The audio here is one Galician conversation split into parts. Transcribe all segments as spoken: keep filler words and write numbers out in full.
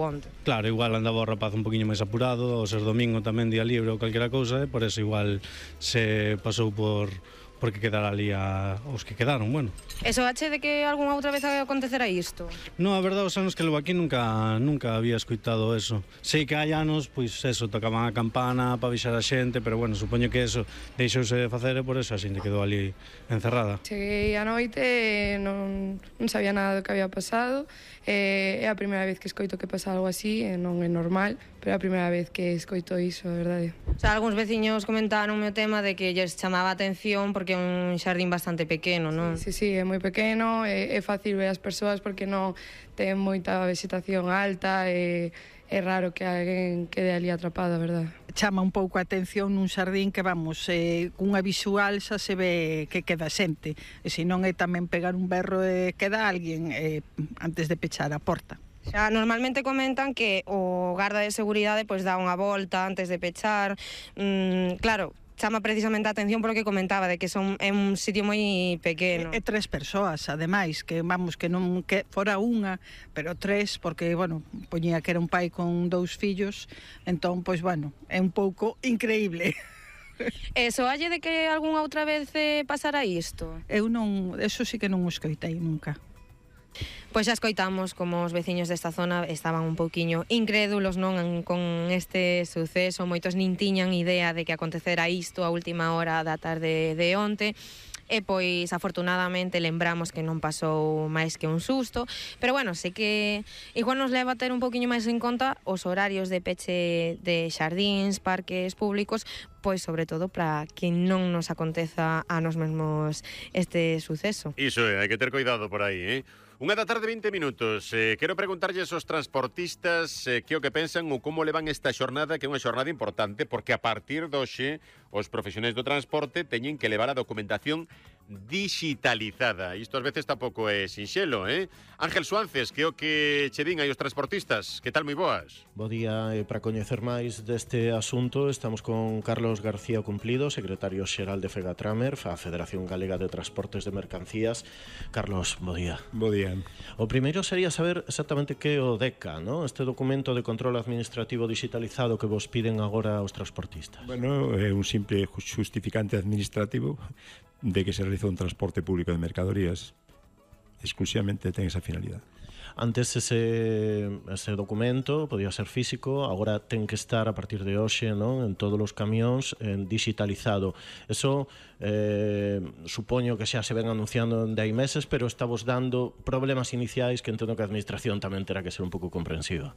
onte. Claro, igual andaba o rapaz un poquinho máis apurado, o ser domingo tamén día libre ou calquera cousa, e por eso igual se pasou por porque quedara ali a, os que quedaron, bueno. E soache de que algunha outra vez acontecera isto? No, a verdade, os anos que levo aquí nunca nunca había escoitado eso. Sei que hai anos, pois eso, tocaban a campana para avisar a xente, pero bueno, supoño que eso deixouse de facer e por eso a xente quedou ali encerrada. Cheguei a noite e non, non sabía nada do que había pasado, e é a primeira vez que escoito que pasa algo así, e non é normal, pero é a primeira vez que escoito iso, a verdade. O sea, algúns veciños comentaron o tema de que lles chamaba a atención porque é un xardín bastante pequeno, non? Sí, sí, é moi pequeno, é, é fácil ver as persoas porque non ten moita vegetación alta, e é raro que alguén quede ali atrapado, a verdade. Chama un pouco a atención nun xardín que, vamos, eh, cunha visual xa se ve que queda xente, e se non é tamén pegar un berro e queda alguén eh, antes de pechar a porta. Xa normalmente comentan que o garda de seguridade pois dá unha volta antes de pechar. Mm, claro, chama precisamente a atención polo que comentaba de que son é un sitio moi pequeno. E, e tres persoas, ademais, que vamos, que non que fora unha, pero tres, porque, bueno, poñía que era un pai con dous fillos, entón, pois, bueno, é un pouco increíble. E soalle de que algunha outra vez eh, pasara isto? Eu non, eso sí que non o escoitei nunca. Pois xa escoitamos como os veciños desta zona estaban un pouquiño incrédulos, non, con este suceso. Moitos nin tiñan idea de que acontecera isto a última hora da tarde de onte. E pois afortunadamente lembramos que non pasou máis que un susto, pero bueno, sei que igual nos leva a ter un poquinho máis en conta os horarios de peche de xardíns, parques públicos, pois sobre todo para que non nos aconteza a nos mesmos este suceso. Iso é, hai que ter cuidado por aí, eh? Unha da tarde, vinte minutos. Eh, quero preguntarlles aos transportistas eh, que o que pensan ou como levan esta xornada, que é unha xornada importante, porque a partir de hoxe os profesionais do transporte teñen que levar a documentación digitalizada. Isto ás veces tampouco é sinxelo, eh? Ángel Suances, que é o que che din aí os transportistas. Que tal, moi boas? Bo día, e para coñecer máis deste asunto estamos con Carlos García Cumplido, secretario xeral de FEGATRAMER, a Federación Galega de Transportes de Mercancías. Carlos, bo día. Bo día. O primeiro sería saber exactamente que é o DECA, ¿no? Este documento de control administrativo digitalizado que vos piden agora aos transportistas. Bueno, é un simple justificante administrativo de que se realiza un transporte público de mercadorías. Exclusivamente ten esa finalidade. Antes ese, ese documento podía ser físico, agora ten que estar a partir de hoxe, non, en todos os camións en digitalizado. Eso eh, supoño que xa se ven anunciando de hai meses, pero estamos dando problemas iniciais que entendo que a administración tamén terá que ser un pouco comprensiva.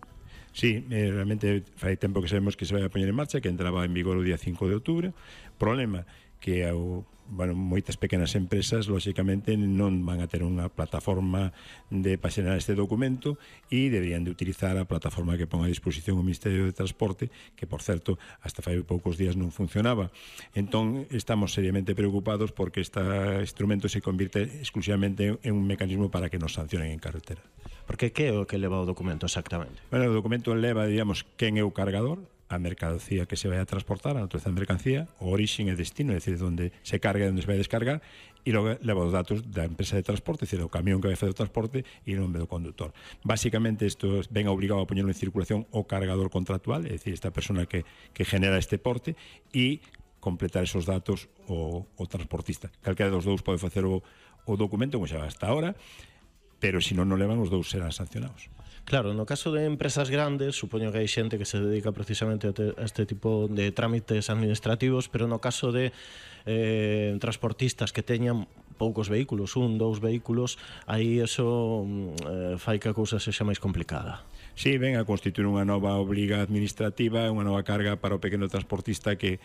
Sí, eh, realmente fai tempo que sabemos que se vai a poñer en marcha, que entraba en vigor o día cinco de outubro. Problema que ao bueno, moitas pequenas empresas lóxicamente non van a ter unha plataforma de para xerar este documento e deberían de utilizar a plataforma que pon a disposición o Ministerio de Transporte, que por certo hasta fai poucos días non funcionaba. Entón estamos seriamente preocupados porque este instrumento se convirte exclusivamente en un mecanismo para que nos sancionen en carretera. Porque que é o que leva o documento exactamente? Bueno, o documento leva, digamos, quen é o cargador, a mercancía que se vai a transportar, a natureza da mercancía, o orixen e destino, é dicir, onde se carga e onde se vai descargar, e logo leva os datos da empresa de transporte, é dicir, o camión que vai fazer o transporte e o nome do conductor. Básicamente, isto ven obligado a poñerlo en circulación o cargador contractual, é dicir, esta persona que, que genera este porte, e completar esos datos o, o transportista. Calquera dos dous pode facer o, o documento, como xa hasta ahora, pero se non non levan, os dous serán sancionados. Claro, no caso de empresas grandes, supoño que hai xente que se dedica precisamente a, te, a este tipo de trámites administrativos, pero no caso de eh, transportistas que teñan poucos vehículos, un, dous vehículos, aí eso eh, fai que a cousa sexa máis complicada. Sí, ven a constituir unha nova obriga administrativa, unha nova carga para o pequeno transportista que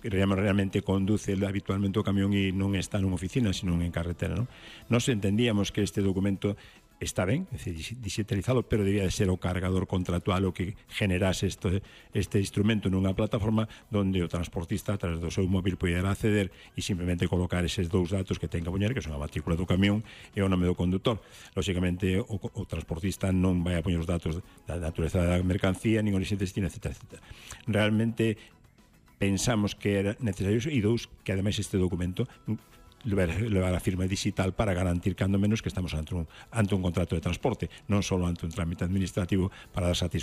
realmente conduce habitualmente o camión e non está nunha oficina, sino en carretera, non? Nos entendíamos que este documento está ben, é dicir, digitalizado, pero debía de ser o cargador contractual o que generase este, este instrumento nunha plataforma onde o transportista a través do seu móvil poderá acceder e simplemente colocar eses dous datos que ten que poñer, que son a matrícula do camión e o nome do conductor. Lóxicamente, o, o transportista non vai a poñer os datos da natureza da mercancía, nin orixe destino, etcétera, etcétera. Realmente pensamos que era necesario e dous, que ademais este documento levar a firma digital para garantir cando menos que estamos ante un, ante un contrato de transporte, non só ante un trámite administrativo para dar satisfacción